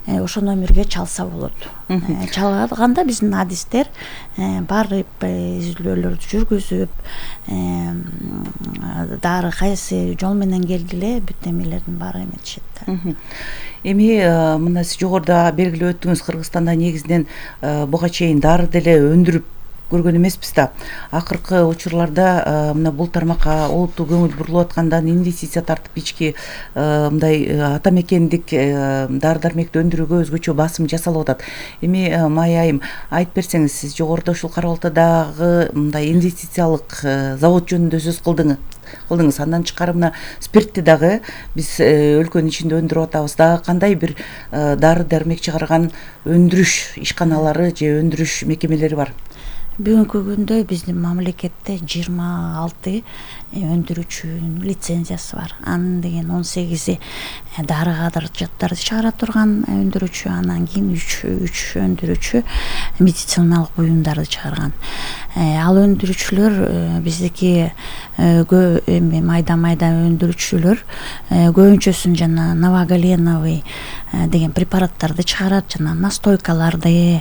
ошо номерге чалса болот. Чалганда биздин адистер барып изилдөөлөрдү жүргүзүп, дары кайсы жол менен келгиле бүт эмелердин баары эметишет да. Эми мына сиз жогоруда белгилеп өттүңүз, Кыргызстанда негизинен буга чейин дары деле өндүрүп көргөн эмеспиз да. Акыркы учурларда мына бул тармакка олуттуу көңүл бурулуп аткандан инвестиция тартып ички мындай ата мекендик дары дармекти өндүрүүгө өзгөчө басым жасалып атат. Эми Майя айым, айтып берсеңиз, сиз жогоруда ушул Кара Балтадагы мындай инвестициялык завод жөнүндө сөз кылдыңыз. Андан тышкары мына спиртти дагы биз өлкөнүн ичинде өндүрүп атабыз. Дагы кандай бир дары дармек чыгарган өндүрүш ишканалары же өндүрүш мекемелери бар? Бүгүнкү күндө биздин мамлекетте 26 өндүрүүчүнүн лицензиясы бар. Анын деген 18 дары каражаттарды чыгара турган өндүрүүчү, анан кийин 3 өндүрүүчү медициналык буюмдарды чыгарган. Ал өндүрүүчүлөр биздики эми майда өндүрүүчүлөр көбүнчөсүн жана новогаленовый деген препараттарды чыгарат, жана настойкаларды,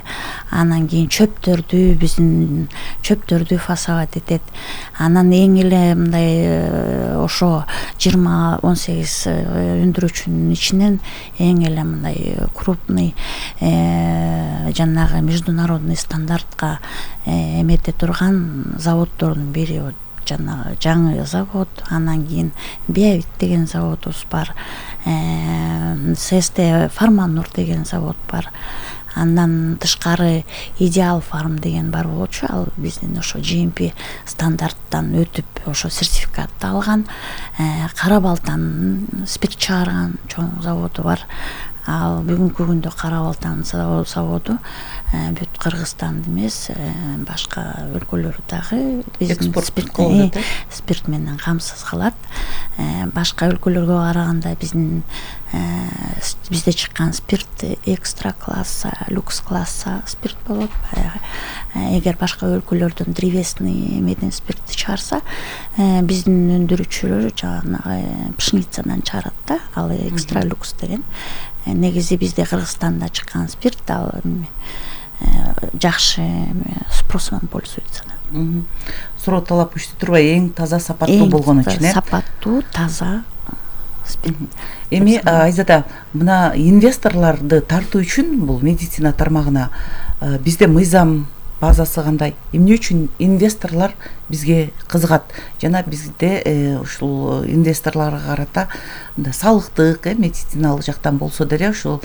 анан кийин чөптөрдү, биздин чөптөрдү фасовать этет. Анан эң эле мындай ошо 18 өндүрүүчүнүн ичинен эң эле мындай крупный жанагы международный стандартка эмете турган заводдордун бири жанагы жаңы завод. Анан кийин Биовит деген заводубуз бар, ССТ Фарманур деген завод бар. Андан тышкары Идеал Фарм деген бар болчу, ал биздин ошо GMP стандарттан өтүп ошо сертификатты алган. Кара Балтанын спирт чыгарган чоң заводу бар. Ал бүгүнкү күндө Кара Балтанын заводу бүт Кыргызстанды эмес, башка өлкөлөрдү дагы биздин спирт менен камсыз кылат. Башка өлкөлөргө караганда бизде чыккан спирт экстра класса, люкс класса спирт болот. Эгер башка өлкөлөрдөн древесный эмеден спиртти чыгарса, биздин өндүрүүчүлөр жанагы пшеницадан чыгарат да, ал экстра люкс деген. Негизи бизде Кыргызстанда чыккан спирт ал жакшы спросун пользуется. Суроо талап күчтүү турбайбы, эң таза сапаттуу болгон үчүн, сапаттуу, таза спирт. Эми Айзада, мына инвесторлорду тартуу үчүн бул медицина тармагына бизде мыйзам базасы кандай? Эмне үчүн инвесторлор бизге кызыгат? Жана бизде ушул инвесторлорго карата салыктык, медициналык жактан болсо деле ушул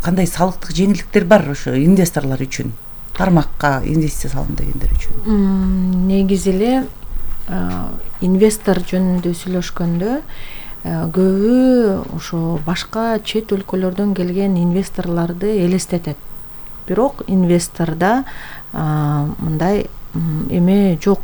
кандай салыктык жеңилдиктер бар ошо инвесторлор үчүн? Тармакка инвестиция салгым дегендер үчүн. Негизи эле инвестор жөнүндө сүйлөшкөндө көбү ошо башка чет өлкөлөрдөн келген инвесторлорду элестетет. Бирок инвестордо мындай эме жок.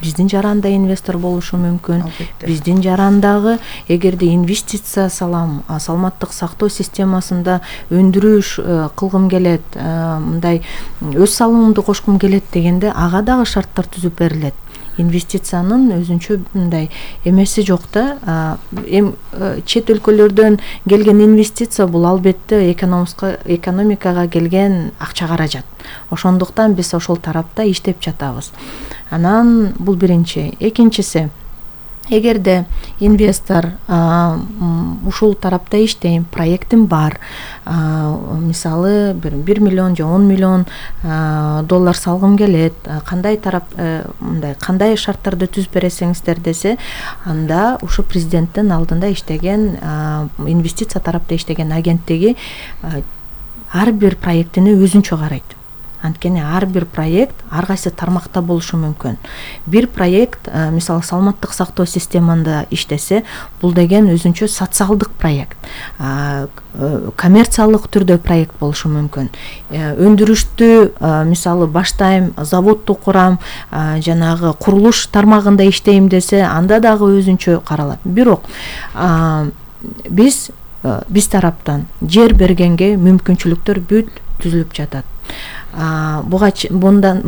Биздин жаранда инвестор болушу мүмкүн. Биздин жарандагы эгерде инвестиция салам, саламаттык сактоо системасында өндүрүш кылгым келет, мындай өз салымымды кошкум келет дегенде ага дагы шарттар түзүп берилет. Инвестициянын өзүнчө мындай эмеси жок да. Чет өлкөлөрдөн келген инвестиция бул албетте экономикага келген акча каражат. Ошондуктан биз ошол тарапта иштеп жатабыз. Анан бул биринчи. Экинчиси, эгерде инвестор ушул тарапта иштейм, проектим бар, мисалы 1 миллион же 10 миллион доллар салгым келет, кандай тарап мындай кандай шарттарды түзүп бересиңиздер десе, анда ушу президенттин алдында иштеген инвестиция тарапта иштеген агенттиги ар бир проектини өзүнчө карайт. Анткени ар бир проект ар кайсы тармакта болушу мүмкүн. Бир проект, мисалы саламаттык сактоо системасында иштесе, бул деген өзүнчө социалдык проект. Коммерциялык түрдө проект болушу мүмкүн. Өндүрүштү, мисалы баштайм, заводду курам, жанагы курулуш тармагында иштейм десе, анда дагы өзүнчө каралат. Бирок биз тараптан жер бергенге мүмкүнчүлүктөр бүт түзүлүп жатат. Мындан